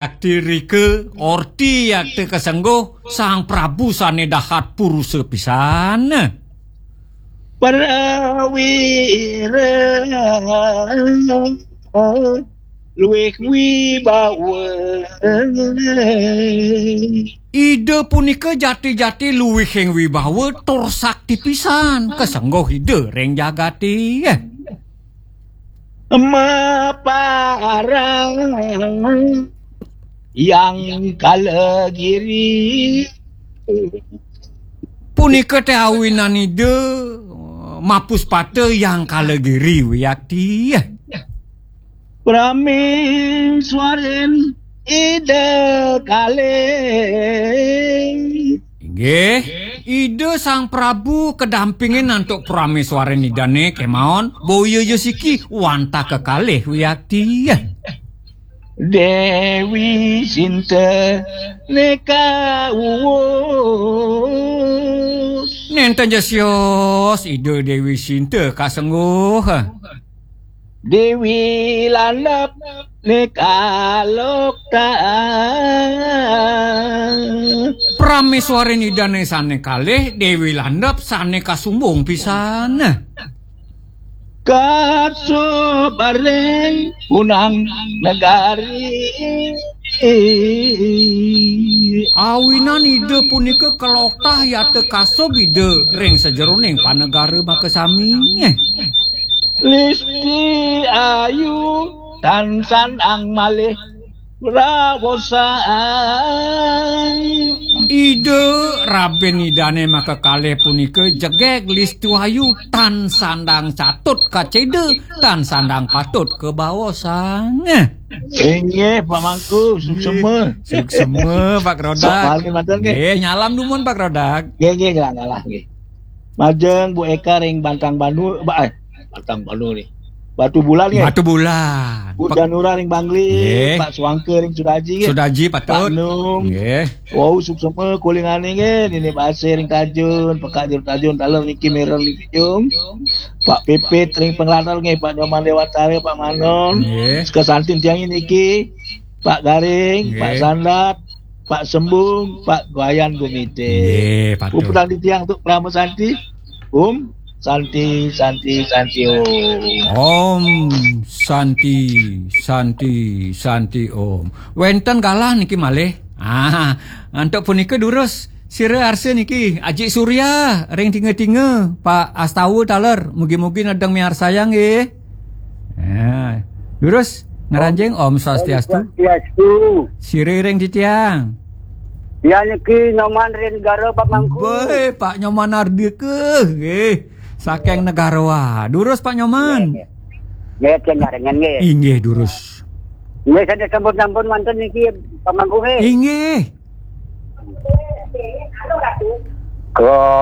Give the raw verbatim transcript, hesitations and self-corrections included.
Yakti rika orti yakti kasengguh Sang Prabu sane dahat purusa pisan. Prawira luwih wibawa. Ida punika jati-jati luwihing wibawa tur sakti pisan kasengguh Ida ring jagate. Maparang Yang Kalagiri. Punika teh awinan Ida mapuspata Yang Kalagiri wiakti. Prameswarin Ida kalih. Inggih, Ida Sang Prabu kadampingin antuk prameswarin Idane kemawon, boya ja siki wantah kekalih wiakti. Dewi Sinta neka uwus. Nenten ja sios Ida Dewi Sinta kasengguh. Dewi Landep neka lokta. Prameswarin Idane sane kalih Dewi Landep sane kasumbung pisan. Kasubaring punang negari. Awinan Ida punika kaloktah yata kasub Ida ring sajeroning panegara makasami. Listi Ayu tan sandang malih rawosan. Ida rabin Idane makakalih punika jegeg Listi Ayu tan sandang catut kaceda, tan sandang patut kabaosan. Inggih, Pak Mangku, suksema. Suksema, Pak Grodak. Sok bali manten nggih. Nggih, nyalam dumun, Pak Grodak. Nggih, nggih, nggih, ngalah nggih. Majeng Bu Eka ring Bantang Bandu, ba-, eh, Bantang Bandu nih. Batu Bulan nggih. Batu Bulan. Bu Pak Janura ring Bangli, nggih. Pak Suangke ring Sudaji nggih. Sudaji Pak patut. Num. Nggih. Wau suksema kulingane nggih, Nini Basir ring Tajun, Pekak Jero Tajun, taler niki mireng ring Kijung. Pak Pipit ring Penglatar nggih, Pak Nyoman Dewatara, Pak Manon. Nggih. Sekesantin tiang niki, Pak Garing, Pak nggih. Sandat, Pak Sembung, Pak Gwayan Gumite. Nggih, patut. Puputang titiang untuk Parama Santi. Om Santi, Santi, Santi, Om. Om Santi, Santi, Santi, Om. Wenten galah niki malih. Ah, antuk punika durus sira arsa niki Aji Surya ring Tinga-tinga, Pak Astawa taler, mugi-mugi nedeng miarsayang nggih. Ya. Durus ngranjing Om Swastiastu. Swastiastu. Sira ring titiang. Ya niki Nyoman ring Negara Pak Mangku. Baik, Pak Nyoman Ardika nggih. Saking Negara. Durus Pak Nyoman. Nggih, nggih. Nggih, cenah ringan nggih. Inggih, durus. Nggih, sampun-sampun manten niki Pak Mangku nggih. Inggih. Kula